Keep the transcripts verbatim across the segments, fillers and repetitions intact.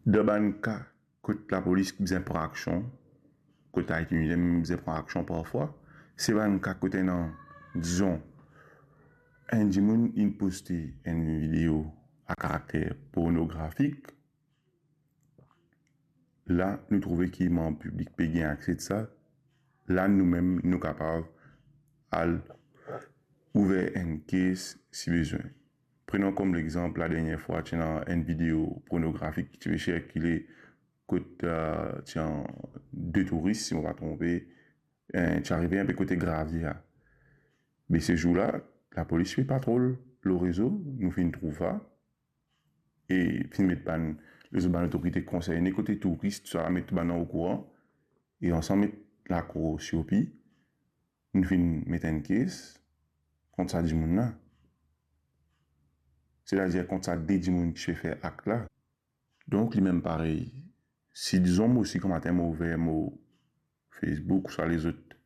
Dan bann ka kot lapolis bizin pran aksion, kot Ayiti Media mem bizin pran aksion parfwa, se bann ka kot ena, dizon, enn dimoun inn poste enn video a karakter pornografik, la nou trouve ki manb piblik pe gagn akse de sa, la nou mem nou kapav al ouver enn kes si bizin. Prenon kom lexanp, ladernie fwa ti ena enn video pornografik ki ti pe sirkile kot, eh, ti ena de touris, si mo pa tronpe, eh, ti arive inpe kote Gravier. Me se zour la, lapolis pe patrol lor rezo, nou finn trouv sa, e finn met bann, lezot bann otorite konserne kote touris, tousala, met bann okouran, e ansam met lakour sirpi, nou finn met enn kes kont sa dimoun la. Setadir kont sa de dimoun ki ti pe fer akt la. Donk, limem parey, si dizon mo osi gramatin mo ouver mo Facebook ouswa lezot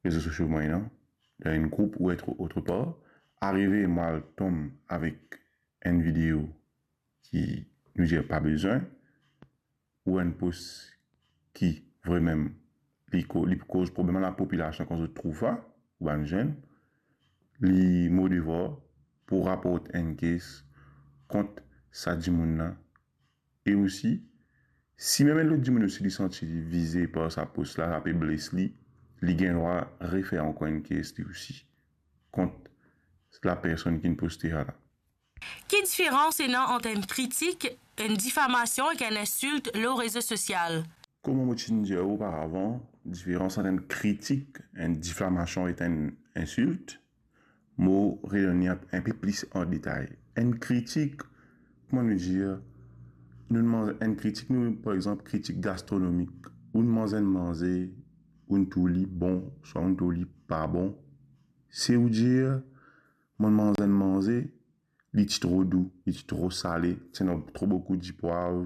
rezo sosio mwayin, dan enn group ou et otrepar, arive mo al tom avek enn video ki nou dir pa bizin, ou enn post ki vremem li ko-, li pou koz problem a lapopilasion kan zot trouv sa, ou bann zenn, li mo devwar pou raport enn kes kont sa dimoun la. E osi, si mem enn lot dimoun osi li santi li vize par sa post la, sa pe bles li, li gagn drwa refer ankor enn kes li osi kont lapersonn ki'nn poste sa la. Ki diferans ena ant enn kritik, enn difamasion ek enn insilt lor rezo sosial? Kouma mo ti dir oparavan, diferans ant enn kritik, enn difamasion ek enn insilt, mo redonn li inpe plis an detay. Enn kritik, kouma nou dir, nou manz enn kritik, nou, par exanp, kritik gastronomik. Ou'nn manz enn manze, ou'nn trouv li bon, swa ou'nn trouv li pa bon. Se ou dir, mo'nn manz enn manze, li ti tro dou, li ti tro sale, ti ena tro boukou dipwav,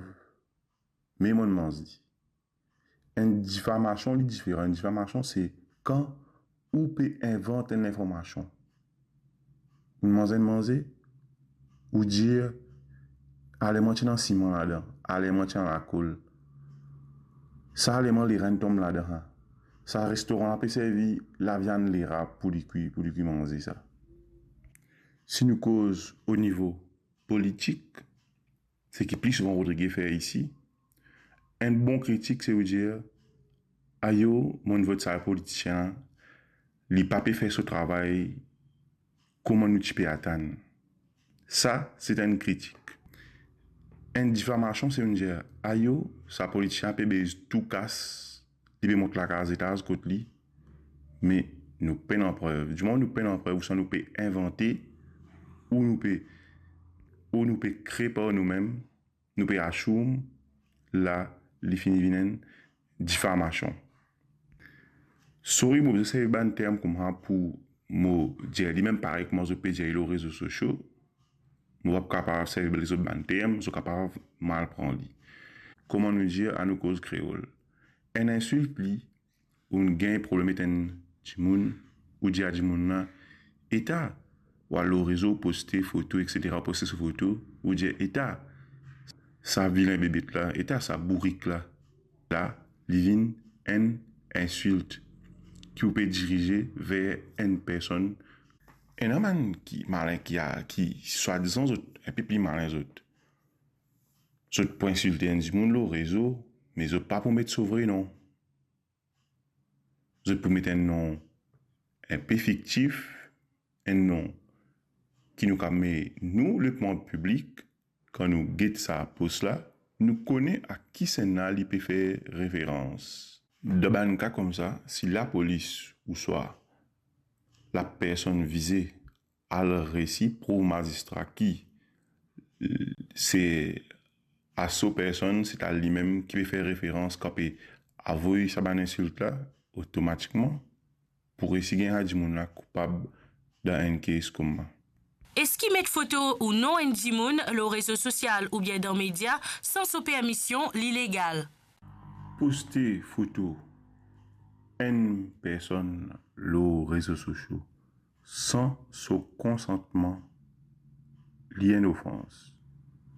me mo'nn manz li. Enn difamasion, li diferan. Enn difamasion, se kan ou pe invant enn linformasion. Ou'nn manz enn manze, ou dir, "Aleman ti ena siman ladan, aleman ti ena lakol. Sa aleman lerenn tom ladan, ha. Sa restoran la pe servi laviann lera pou li kwi, pou li kwi manze sa." Si nou koz o nivo politik, seki pli souvan Rodrigue fer isi, enn bon kritik, se ou dir, "Ayo, mo'nn vot sa politisien la, li pa pe fer so travay kouma nou ti pe atann." Sa, se enn kritik. Enn difamasion, se ou'nn dir, "Ayo, sa politisien la pe bez tou kas, li pe mont lakaz etaz kot li, me nou pena prev." Dimoman nou pena prev, ouswa nou pe invante, ou nou pe, ou nou pe kre par noumem, nou pe assume, la, li fini vinn enn difamasion. Sorry, mo bizin servi bann term koumsa pou mo dir li mem parey kouma zot pe dir li lor rezo sosio. Mo pa kapav servi lezot bann term, zot kapav mal pran li. Kouma nou dir, anou koz kreol. Enn insilt li, ou'nn gagn problem ek enn dimoun, ou dir a dimoun la, "Eta," ou al lor rezo, ou poste foto, et cetera, ou poste so foto, ou dir, "Eta sa vilin bebet la, eta sa bourik la." La, li vinn enn insilt ki ou pe dirize ver enn personn. Ena bann ki malin, ki a, ki swadizan zot inpe pli malin zot. Zot pou insilte enn dimoun lor rezo, me zot pa pou met so vre non. Zot pou met enn non inpe fiktif, enn non ki nou kapav, me nou, lemanb piblik, kan nou get sa post la, nou kone a kisannla li pe fer referans. Dan bann ka koumsa, si lapolis ouswa lapersonn vize al resi prouv mazistra ki, eh, se a so personn, se ta limem ki pe fer referans, kan pe avoy sa bann insilt la, otomatikman pou resi gagn sa dimoun la koupab dan enn kes koumsa. Eski met foto ou non enn dimoun lor rezo sosial oubien dan media san so permision, li legal? Poste foto enn personn lor rezo sosio san so konsantman, li enn ofans.